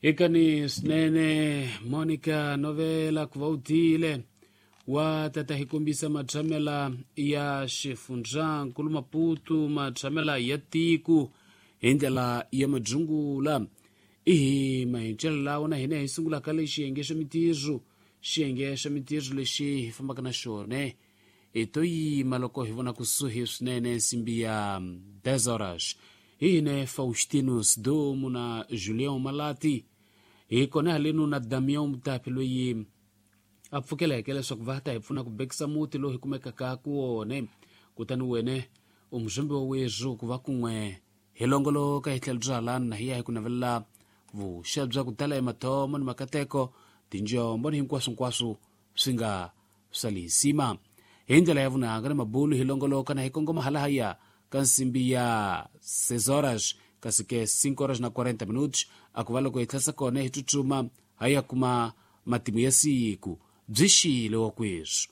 Hikani swinene Monica Novela ku va u tile wa tata hi kombisa matshamela ya xifundzankulu Maputo, matshamela ya tiko hi ndlela ya madzungula. Ihi mahincelo lawa na hina hi sungulaka le xiyenge xa mitirho, xiyenge xa mitirho lexi hi fambaka na xona hi to yima loko hi vona kusuhi swinene nsimbi ya 10 horas. Hi hine Faustinus Domo na Julião Malati hi kona halenu na Damião Mutapi loyi a pfukeleke leswaku va ta hi pfuna ku bekisa muti lowu hi kumekaka ku wone. Kutani wene u muzombi wa wezu ku va kun'we hi longoloka hi tlhelo bya halani na hi ya hi ku navelela vuxa bya ku tala emathomo ni makateko, tinjombo ni hinkwaswonkwaswo swi nga swa lisima. Hi ndlela ya vunanga ni mabulu hi longoloka na hi kongoma halahaya ka nsimbi ya 6 horas, kasi ke 5 horas na 40 minutos a ku va loko hi tlhasa kona hi tsutsuma ha ya kuma matimu ya siku. Byi xile wa kweswi.